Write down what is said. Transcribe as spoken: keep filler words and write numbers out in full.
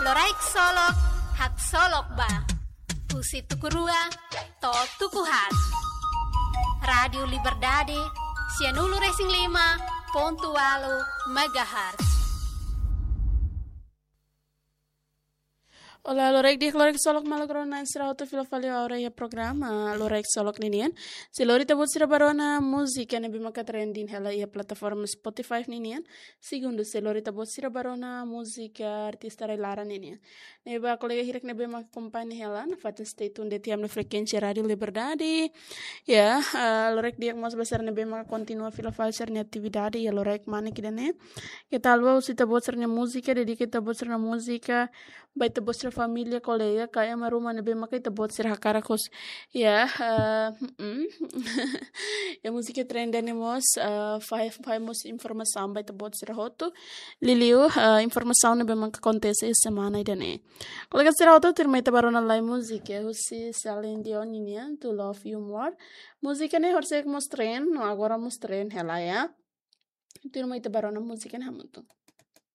Loraik Solok, haksolok ba. Husi tuku rua to'o tuku haat. Rádiu Liberdade, sianulu-resin-lima pontu ualu megahertz. Olá, loraik di'ak, loraik solok maluk rona sira hotu, fila fali ba oras iha programa Loraik Solok ninian. Se lori ita-boot sira ba rona múzika ne'ebé maka trending hela iha plataforma Spotify ninian. Segundu, se lori ita-boot sira ba rona múzika artista rai-laran ninian. Ne'ebé ba kolega hirak ne'ebé maka akompaña hela, nafatin stay tune de'it iha ami-nia frekuénsia Rádiu Liberdade. Ya, ah, loraik di'ak mós ba sira ne'ebé maka kontinua fila fali sira-nia atividade iha loraik manek ida-ne'e. Keta haluha husu ita-boot sira-nia múzika, dedika ita-boot sira-nia múzika ba ita-boot sira-nia família, kolega, ka ema ruma ne'ebé maka ita-boot sira hakarak husu. Ya, ah, mm. Ya, múzika trending ne'e mós, ah, fahe, fahe mós informasaun ba ita-boot sira hotu. Liuliu, ah, informasaun ne'ebé maka akontese semana ida-ne'e. Kolega sira hotu, tuirmai ita ba rona lai múzika husi Celine Dion ninian, To Love You More. Múzika ne'e horisehik mós trend, no agora mós trend hela ya. Tuirmai ita ba rona múzika ne'e hamutuk.